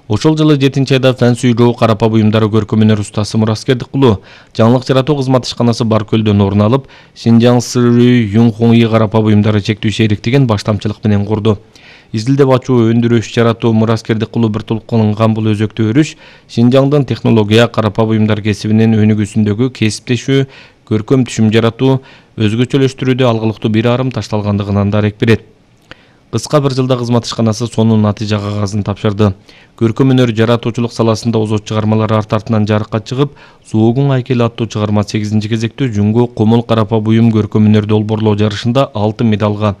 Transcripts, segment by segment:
Ошол жылы 7-айда фэн сүйрөө карапа буюмдары көркөмүнөр устасы Мураскердикулу жаңылык жаратуу кызмат ишканасы Баркөлдөн орун алып, Шинжаң Сырый Юнхоңи карапа буюмдары чектүү шериктигин баштамчылык менен курду. Изилдеп ачуу, өндүрүш, жаратуу Мураскердикулу бир толкунунган бул өзөктүү өрүш Шинжаңдын технология карапа буюмдар кесибинин өнүгүүсүндөгү кесиптешүү, көркөм түшүм жаратуу, өзгөчөлөштүрүүдө алгылыктуу бир арым ташталгандыгынан дарек берет. Кыска бир жылда кызмат ишканасы сонун натыйжа кагазын тапшырды. Көркөм өнөр жаратуучулук саласында озот чыгармалары арт артынан жарыкка чыгып, Зоогун айкели аттуу чыгарма 8-кезектүү Жүнгө Комул карапа буюм көркөм өнөр долбоорлоо жарышында алтын медалга,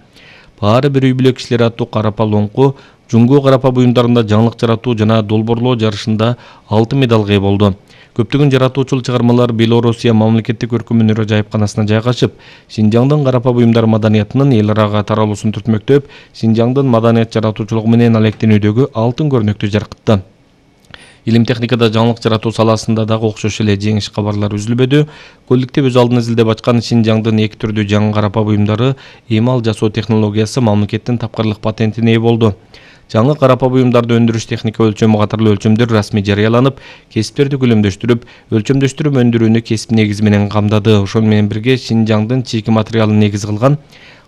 Баары бир үй бүлө кишилери аттуу карапа лоңку Жүнгө карапа буюмдарында жаңылык жаратуу жана долбоорлоо жарышында алтын медалга ээ болду. Көптөгөн жаратуучул чыгармалар Белоруссия мамлекеттик көркөм өнөр ажайыпканасына жайгашып, Шинжаңдын карапа буюмдар маданиятынын эл арага таралуусун түртмөктөп, Шинжаңдын маданият жаратуучулугу менен алектенүүдөгү алтын көрнөктү жаркытты. Илим техникада жаңылык жаратуу саласында дагы окшош эле жеңиш кабарлар үзүлбөдү. Коллектив өз алдына изилдеп ачкан Шинжаңдын эки түрдүү жаңы карапа буюмдары эмал жасоо технологиясы мамлекеттин тапкырлык патентине ээ болду. Жаңы карапа буюмдарды өндүрүш техника өлчөмү катарлуу өлчөмдөр расмий жарыяланып, кесиптерди көлөмдөштүрүп, өлчөмдөштүрүп өндүрүүнү кесип негизи менен камдады. Ошону менен бирге Шинжаңдын чийки материалын негиз кылган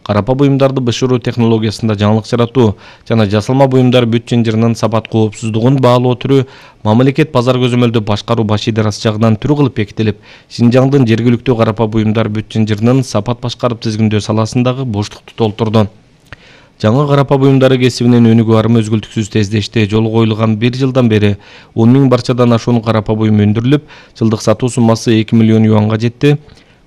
карапа буюмдарды бышыруу технологиясында жаңылык жаратуу жана жасалма буюмдар бүт жынжырынын сапат коопсуздугун баалоо түрү мамлекет базар көзөмөлдү башкаруу баш идарасы жагынан түрү кылып бекитилип, Шинжаңдын жергиликтүү карапа буюмдар бүт жынжырынын сапат башкарып тизгиндөө саласындагы боштукту толтурду. Жаңы карапа буюмдары кесибинин өнүгүү арымы өзгөлтүксүз тездешти. Жолу коюлган бир жылдан бери 10 000 барчадан ашуун карапа буюм өндүрүлүп, жылдык сатуу суммасы 2 миллион юанга жетти.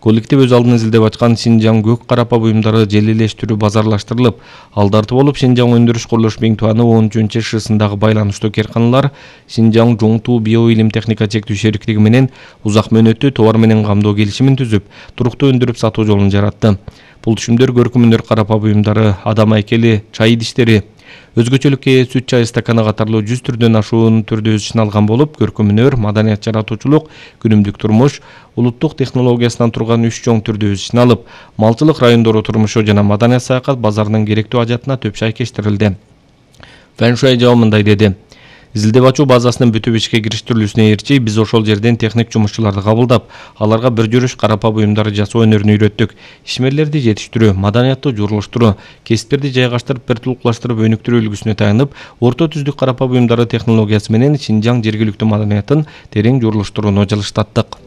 Коллектив өз алдына изилдеп ачкан Шинжаң көк карапа буюмдары желилештирүү базарлаштырылып, алдарты болуп Шинжаң өндүрүш курулуш Биңтуаны 13 ШСындагы байланыштуу керканалар Шинжаң Жоңтуу био илим техника чектүү шериктиги менен узак мөөнөттүү товар менен камдоо келишимин түзүп, туруктуу өндүрүп сатуу жолун жаратты. Бул түшүмдөр көркөм өнөр карапа буюмдары, адам айкели, чай идиштери, өзгөчөлүккө ээ сүт чай стаканы катарлуу 100 түрдөн ашуун түрдө өз ишин алган болуп, көркөм өнөр, маданият жаратуучулук, күнүмдүк турмуш, улуттук технологиясынан турган 3 чоң түрдө өз ишин алып, малчылык райондору турмушу жана маданият саякат базарынын керектүү ажатына төп шайкештирилди. Фэн Шуай жабымындай деди. Изилдеп ачуу базасынын бүтүп ишке кириштирилүүсүнө ээрчи биз ошол жерден техник жумушчуларды кабылдап, аларга бир жүрүш карапа буюмдарды жасоо өнөрүн үйрөттүк. Ишмерлерди жетиштирүү, маданияттуу журулуштуруу, кесиптерди жайгаштырып, бир тулукташтырып өнүктүрүү үлгүсүнө таянып, орто түздүк карапа буюмдары технологиясы менен Шинжаң жергиликтүү маданиятын терең журулуштурууну жылыштаттык.